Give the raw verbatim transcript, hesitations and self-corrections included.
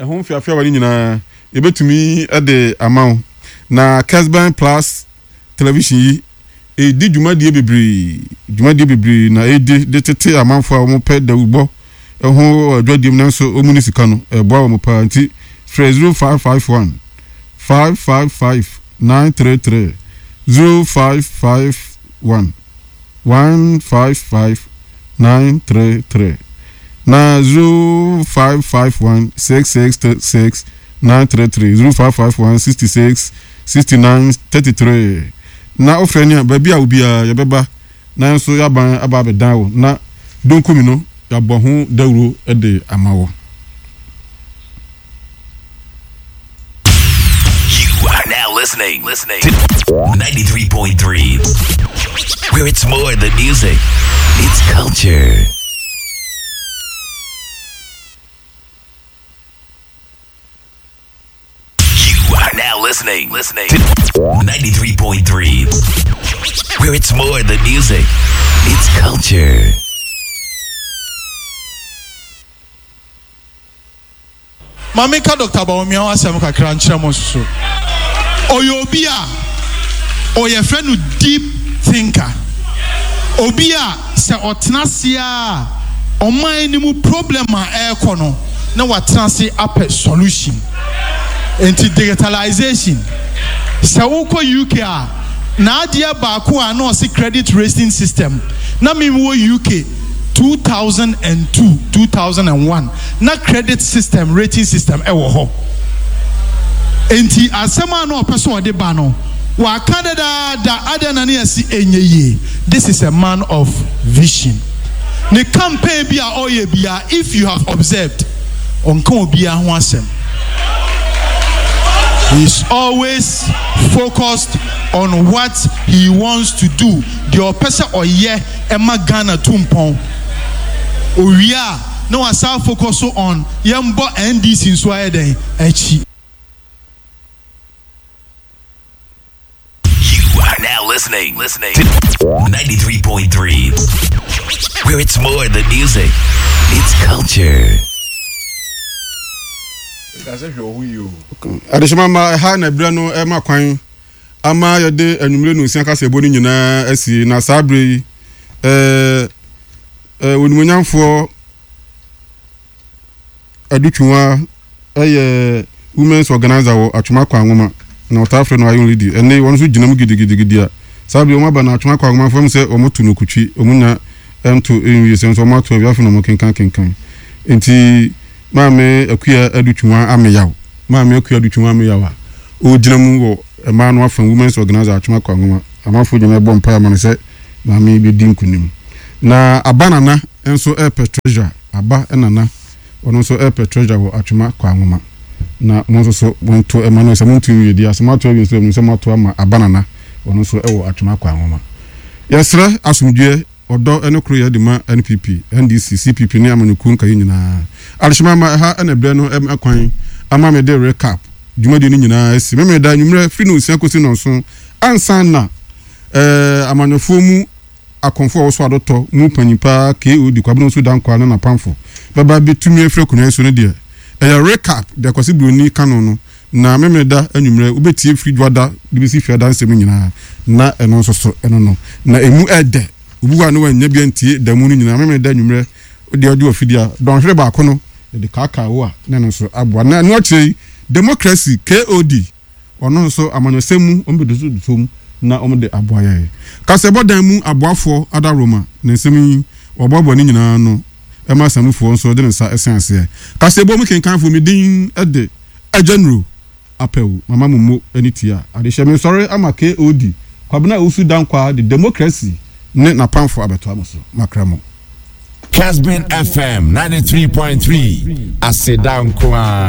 Ɛho mfeafeawa no nyinaa yɛbɛtumi de ama wo. Na Kesben Plus Television yi ɛredi dwumadie bebree, dwumadie bebree na ɛredi de tete amanfoɔ a wɔpɛ dawubɔ ho adwadiem nanso wɔn ni sika no, ɛboa wɔn paa. Nti frɛ zero five five one five five five nine three three, zero five five one one five five nine three three na zero five five one six six six nine three three, zero five five one sixty six sixty nine thirty three. Na wofrɛ ne a, baabi a obiara yɛbɛba nanso yɛaban aba abɛdan wo na donkumi no yɛabɔ ho dawuro de ama wo. You are now listening, listening to ninety-three point three, where it's more than music, it's culture. You are now listening, listening to ninety-three point three, where it's more than music, it's culture. Maame ka Doctor Bawumia ho asɛm kakra nkyerɛ mo nso so. Ɔyɛ obi a ɔyɛ fɛ no deep thinker, obi a sɛ ɔtena ase a, ɔman no mu problem a ɛrekɔ no na watena ase apɛ solution. Nti digitalization, sɛ wokɔ U K a, n'adeɛ baako a na ɔse credit rating system. Na mi wɔ U K two thousand and two, two thousand and one, na credit system, rating system ɛwɔ hɔ. Nti asɛm a na ɔpɛ sɛ ɔde ba no, waka dadaada adeɛ na ne yɛsi enye yie. This is a man of vision. Ne campaign bi a ɔyɛ bia, if you have observed, ɔnka obiara ho asɛm. He is always focused on what he wants to do, deɛ ɔpɛ sɛ ɔyɛ ɛma Ghana tu mpɔn. Owie a, na wasa focus on yɛn bɔ N D C nso ayɛ dɛn akyi. You are now listening, listening to ninety-three point three, where it's more than music, it's culture. Adehyema ma ɛha na ɛberɛ no ɛma kwan ama yɛde anwummerɛ no nsia kaseɛbɔ no nyinaa asi. Na saa berɛ yi ɛɛ ɛɛ onimonyamfoɔ Adutwuma ɛyɛ women's organizer wɔ Atwoma Kwanwoma na ɔtaa frɛ no Iron Lady. Ɛne wɔn nso gyina mu gidigidigidi a saa berɛ wɔn aba na Atwoma Kwanwoma fam sɛ wɔn to no kutwi, wɔn nya ɛnto nwie sɛ nso wɔn ato awie, afei na wɔn kenkan kenkan. Nti Maame Akua Adutwuma Ameyaw, Maame Akua Adutwuma Ameyaw a ɔgyina mu wɔ mmaa no afa, women's organizer Atwoma Kwanwoma, amanfoɔ nyinaa bɔ mpaeɛ ama no sɛ maame bɛdi nkunim. Na Aba Nana nso ɛrepɛ treasurer. Aba Nana, ɔno nso ɛrepɛ treasurer wɔ Atwoma Kwanwoma. Na mo nso so monto ɛma no sɛ monto nwie di asɛm ato awie nso ɛmu sɛ moato ama Aba Nana, ɔno nso ɛwɔ Atwoma Kwanwoma. Yɛsrɛ asomdwoeɛ, ɔdɔ ne koro yɛ de ma N P P, N D C, C P P ne amanyɔkuo nkaeɛ nyinaa. Adehyema ma ɛha ɛna berɛ no ɛma kwan ama me de recap dwumadie no nyinaa asi. Memeda anwummerɛ firi no nsia kɔsi nɔnson ansa na ɛɛ amanyɔfoɔ mu akɔmfo a wɔso adɔtɔ mu panyin paa K O D Kwabena Nso Dankwa ne n'apamfo bɛba bɛtumi afiri akonnwa yi so no deɛ, ɛyɛ recap deɛ Kwasi Buroni ka no no Na Memeda anwummerɛ wobɛtie firi Dwoada de bɛsi Fiada nsɛm nyinaa, na ɛno nso so ɛno no na ɛmu ɛdɛ. Obi hɔ a ne wanya bi antie da mu no nyinaa, Memeda anwummerɛ deɛ ɔde wɔ a dɔnhwere baako no yɛde kaakaa wo a, na ɛno nso aboa. Na ɛno akyerɛ yi, Democracy K O D, ɔno nso amanyɔsɛm mu wɔn bɛdoso mu na wɔn de aboa yɛn. Kasɛbɔ dan mu aboafoɔ adaworoma na nsɛm yi wɔboaboa ne nyinaa no ɛma asamufoɔ nso de ne nsa ɛsɛn aseɛ. Kasɛbɔ mu kenkanfoɔ, mi din ɛde Agyanuro Apɛw Mama Momo ne tia adehyɛ me nsɔre ama K O D Kwabena Owusu Dankwa de Democracy ne n'apamfo abɛtoa mo so. Makra mo. Casbin F M ninety-three point three, aseda nko a.